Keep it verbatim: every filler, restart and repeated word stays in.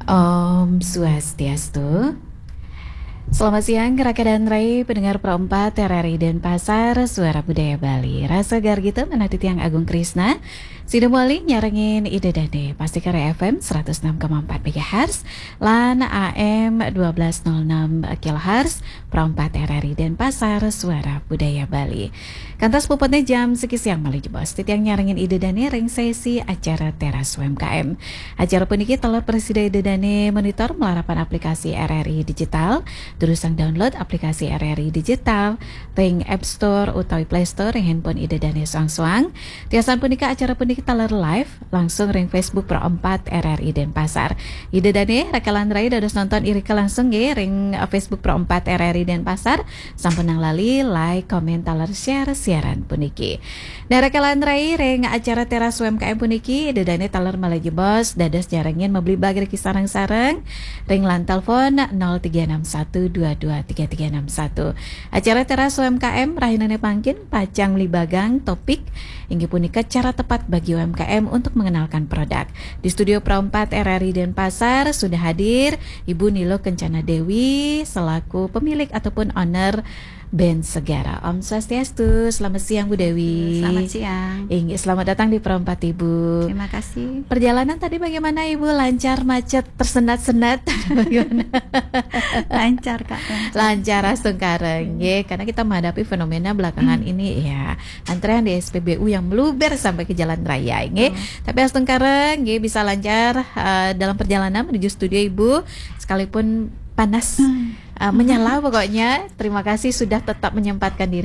Om Swastiastu. Selamat siang, Raka dan Rai, pendengar Pro empat R R I Denpasar, Suara Budaya Bali. Rasa gargita manah titiang Agung Krisna, sida mawali nyarengin Ida Dane, pasti kare F M seratus enam koma empat megahertz, lan A M dua belas nol enam kilohertz, Pro empat R R I Denpasar, Suara Budaya Bali. Kantos puputne jam siki siang malih jebos, titiang nyarengin Ida Dane ring sesi acara Teras U M K M. Acara puniki taler prasida Ida Dane monitor malarapan aplikasi R R I Digital, durusang download aplikasi R R I Digital ring App Store utawi Play Store ring handphone Ida Dane soang-soang. Tiosan punika acara puniki taler live langsung ring Facebook Pro empat R R I Denpasar. Ida Dane, Raka lan Rai dados nonton irika langsung nggih ring, eh, Facebook Pro empat R R I Denpasar. Sampunang lali like, komen, taler share siaran puniki. Nah, Raka lan Rai, ring acara Teras U M K M puniki, Ida Dane taler malih jebos dados nyarengin mabligbagan iriki sareng-sareng ring line telepon nol tiga enam satu dua dua tiga tiga enam satu. Acara Teras U M K M rahinane mangkin pacang mabligbagan topik inggih punika cara tepat bagi U M K M untuk mengenalkan produk. Di studio Pro empat R R I Denpasar sudah hadir Ibu Nilo Kencana Dewi selaku pemilik ataupun owner Band Segara. Om Swastiastu, selamat siang Bu Dewi. Selamat siang. Inggih, selamat datang di Pro empat Ibu. Terima kasih. Perjalanan tadi bagaimana Ibu? Lancar, macet, tersendat-sendat? Bagaimana? Lancar, Kak. Lancar. Lancar, astungkara nggih, karena kita menghadapi fenomena belakangan ini ya, antrean di S P B U yang meluber sampai ke jalan raya nggih. Betul. Tapi astungkara nggih bisa lancar, eh, dalam perjalanan menuju studio Ibu, sekalipun panas, Hmm. eh, menyala pokoknya. Terima kasih sudah tetap menyempatkan diri